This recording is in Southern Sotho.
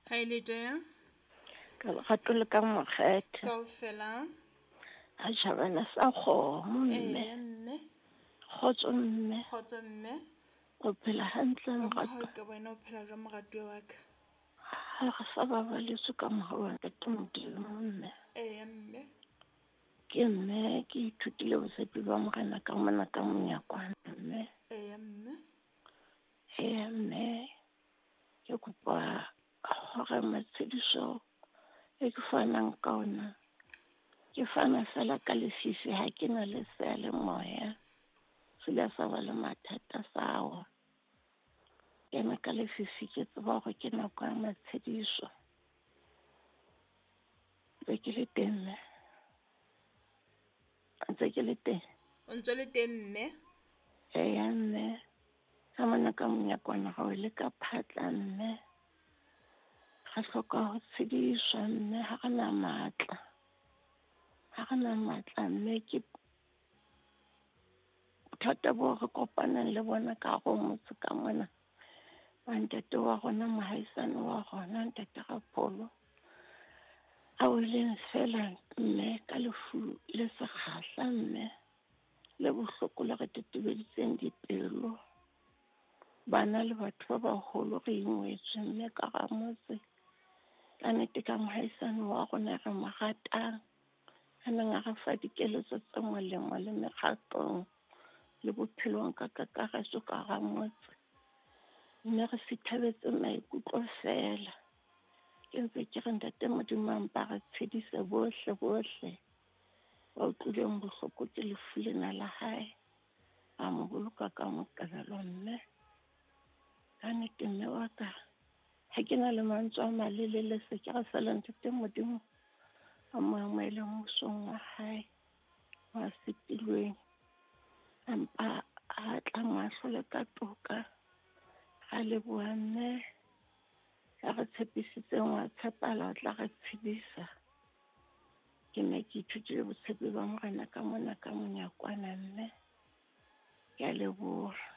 Ha e le teng. Ka lerato le ka mokgethe. Kaofela. Ha tjhabana sa kgomo mme. Eya mme. Kgotso mme. Kgotso mme. O phela hantle Ka morato? mohau ka wena o phela jwang moratuwa wa ka? Ha re sa babaletswe ka mohau wa Ntate Modimo mme. Eya mme. Ke mme ke ithutile botshepi ba Morena ka mona ka monyakwana mme. Eya mme. Eya mme. Ke kopa hore matshediso e ke fanang ka ona, ke fana fela ka lefifi, ha ke na le seyalemoya. Se ile sa ba le mathata sa wa. Kena ka lefifi ke tseba hore ke nako ya matshediso. Ntse ke le teng mme. Ntse ke le teng. O ntse le teng mme? Eya mme. Ka mona ka monyakwana ga o le ka phatla mme. Re hloka ho tshediswa mme, ha re na matla. Ha re na matla mme, ke bothata bo re kopanang le bona ka hare ho motse ka mona. Ba ntate wa rona, mohaisane wa rona, ntate Rapholo, a weleng fela mme ka lefu le sekgahla mme, le bohloko le re tetebeditseng dipelo. Bana le batho ba baholo re ingwetswe mme ka hara motse. Ka nnete ka mohaisane wa rona re mo ratang, a neng a re fa dikeletso tse molemo le mekgatlong le bophelong ka kakaretso ka hara motse. Mme re sithabetse maikutlo fela. Ke ntse ke re Ntate Modimo a mpa re tshedise bohle bohle ba utlwileng bohloko ke lefu lena la hae. A mo boloka ka Moqebelo mme. Ka nnete mme wa ka, ha ke na le mantswe a malelele, se ke re fela Ntate Modimo a mo amohele mmusong wa hae wa setilweng. Empa a tla mo ahlole ka toka. Ra leboha mme, ya re tshepisitseng wa tshepala, o tla re tshedisa. Ke ne ke ithutile botshepi ba Morena ka mona ka monyakwana mme. Ke a leboha.